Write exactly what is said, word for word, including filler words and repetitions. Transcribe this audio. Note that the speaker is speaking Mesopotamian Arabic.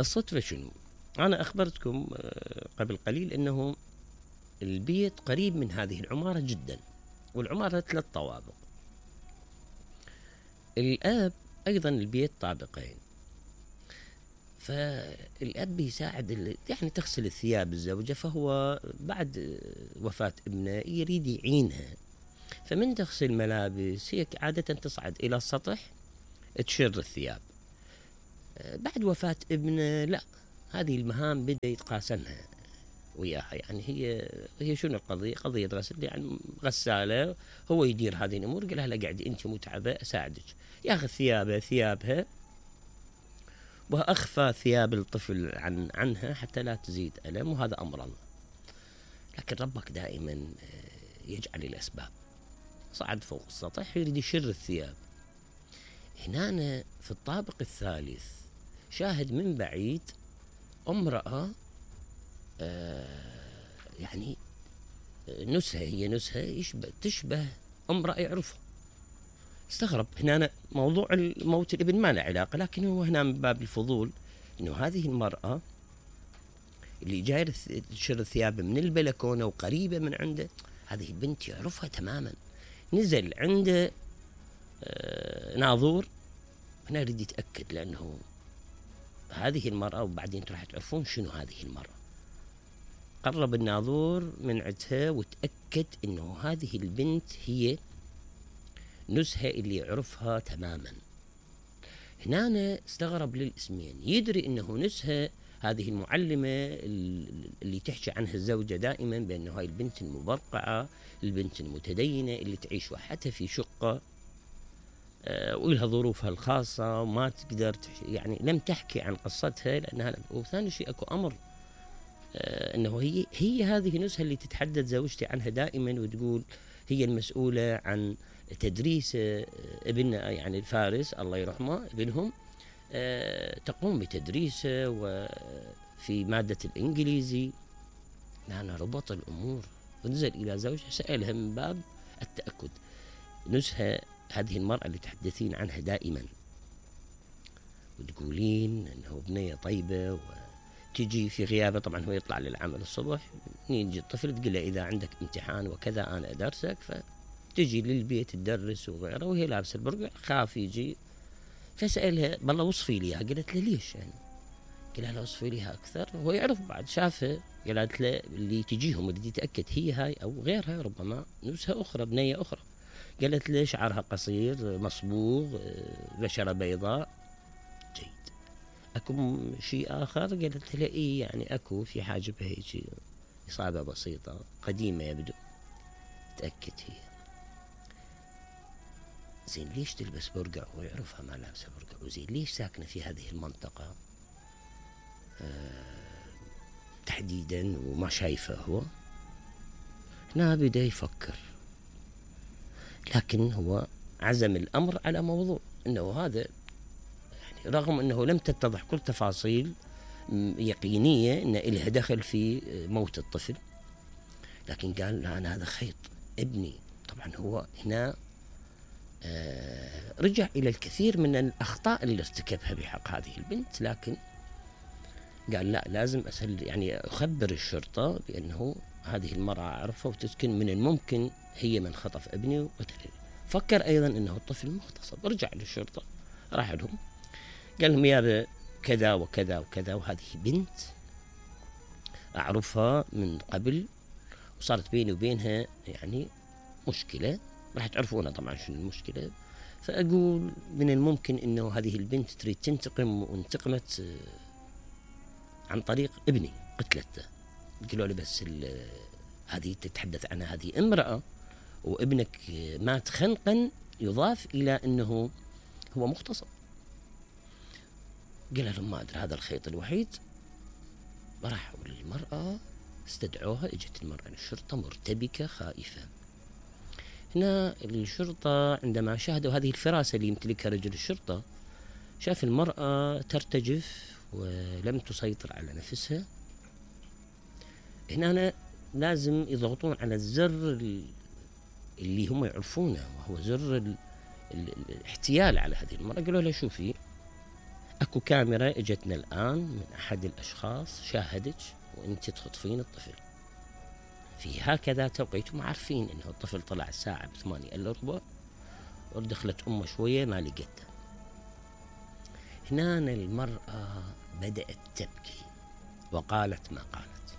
الصدفة شنو؟ أنا أخبرتكم قبل قليل أنه البيت قريب من هذه العمارة جدا، والعمارة ثلاث طوابق. الآب أيضا البيت طابقين، فالأب بيساعد يعني تغسل الثياب الزوجة، فهو بعد وفاة ابنه يريد يعينها، فمن تغسل ملابس هي عادة تصعد إلى السطح تشر الثياب. بعد وفاة ابنه لا، هذه المهام بدأ يتقاسمها وياها، يعني هي هي شنو القضية؟ قضية غسل، يعني غسالة، هو يدير هذه الأمور. قال لها لا قعدي أنت متعبة أساعدك، ياخذ ثيابه ثيابها وأخفى ثياب الطفل عن عنها حتى لا تزيد ألم، وهذا أمر الله. لكن ربك دائما يجعل الأسباب. صعد فوق السطح يريد يشر الثياب. هنا في الطابق الثالث شاهد من بعيد امرأة آه يعني نسها، هي نسها يشبه تشبه امرأة يعرفها. استغرب هنا موضوع الموت الابن ما له علاقة، لكن هو هنا من باب الفضول انه هذه المرأة اللي جاية تشر الثياب من البلكونة وقريبة من عنده، هذه البنت يعرفها تماما. نزل عنده آه ناظور، هنا يريد يتأكد لأنه هذه المرأة، وبعدين راح تعرفون شنو هذه المرأة. قرب الناظور من عندها وتأكد انه هذه البنت هي نزهة اللي يعرفها تماما. هنا استغرب للاسمين، يدري انه نزهة هذه المعلمة اللي تحكي عنها الزوجة دائما بانه هاي البنت المبرقعة، البنت المتدينة اللي تعيش وحدها في شقة آه ولها ظروفها الخاصة وما تقدر يعني لم تحكي عن قصتها لانها. وثاني شيء اكو امر آه انه هي هي هذه نزهة اللي تتحدث زوجتي عنها دائما وتقول هي المسؤولة عن تدريس آه ابننا، يعني الفارس الله يرحمه ابنهم، آه تقوم بتدريسه وفي مادة الانجليزي. أنا ربط الامور ونزل الى زوجها سألها من باب التأكد. نزهة هذه المرأة اللي تحدثين عنها دائما وتقولين انه بنية طيبة، وتجي في غيابه طبعا هو يطلع للعمل الصبح، يجي الطفل تقول له اذا عندك امتحان وكذا انا ادرسك، فتجي للبيت تدرس وغيره وهي لابسه البرقع، خاف يجي. فسألها بالله وصفي لي، قالت له ليش يعني؟ قال لها وصفي لي اكثر. هو يعرف بعد شافها، قالت له اللي تجيهم اللي يتاكد هي هاي او غيرها، ربما نزهة اخرى بنية اخرى. قالت له شعرها قصير مصبوغ بشرة بيضاء. جيد. اكو شيء اخر؟ قالت له اي يعني اكو في حاجبها هيك اصابة بسيطة قديمة يبدو. تأكد هي. زين ليش تلبس برقع وهو يعرفها ما لابسه برقع؟ وزين ليش ساكنة في هذه المنطقة أه تحديدا وما شايفه هو؟ هنا بدأ يفكر، لكن هو عزم الأمر على موضوع أنه هذا يعني رغم أنه لم تتضح كل تفاصيل يقينية أن إلها دخل في موت الطفل، لكن قال لا أنا هذا خيط ابني. طبعا هو هنا آه رجع إلى الكثير من الأخطاء اللي ارتكبها بحق هذه البنت، لكن قال لا لازم أسأل يعني أخبر الشرطة بأنه هذه المرأة أعرفها وتسكن، من الممكن هي من خطف ابني وقتله. فكر أيضا أنه الطفل مغتصب. رجع للشرطة، راح لهم قال لهم يا كذا وكذا وكذا، وهذه بنت أعرفها من قبل وصارت بيني وبينها يعني مشكلة، راح تعرفونها طبعا شنو المشكلة. فأقول من الممكن أنه هذه البنت تريد تنتقم، وانتقمت عن طريق ابني قتلته. قالوا لي بس هذه تتحدث عنها هذه امرأة وابنك مات خنقا، يضاف إلى أنه هو مغتصب. قال لهم ما أدري، هذا الخيط الوحيد. راحوا للمرأة استدعوها، اجت المرأة للشرطة مرتبكة خائفة. هنا الشرطة عندما شاهدوا هذه الفراسة اللي يمتلكها رجل الشرطة، شاف المرأة ترتجف ولم تسيطر على نفسها. هنا لازم يضغطون على الزر اللي هم يعرفونه، وهو زر الاحتيال على هذه المرأة. قالوا لها شوفي اكو كاميرا اجتنا الآن من أحد الأشخاص شاهدك وأنت تخطفين الطفل في هكذا توقيت، وما عارفين إنه الطفل طلع الساعة بثمانية إلا ربع ودخلت أمه شوية ما لقيته. هنا المرأة بدأت تبكي وقالت ما قالت.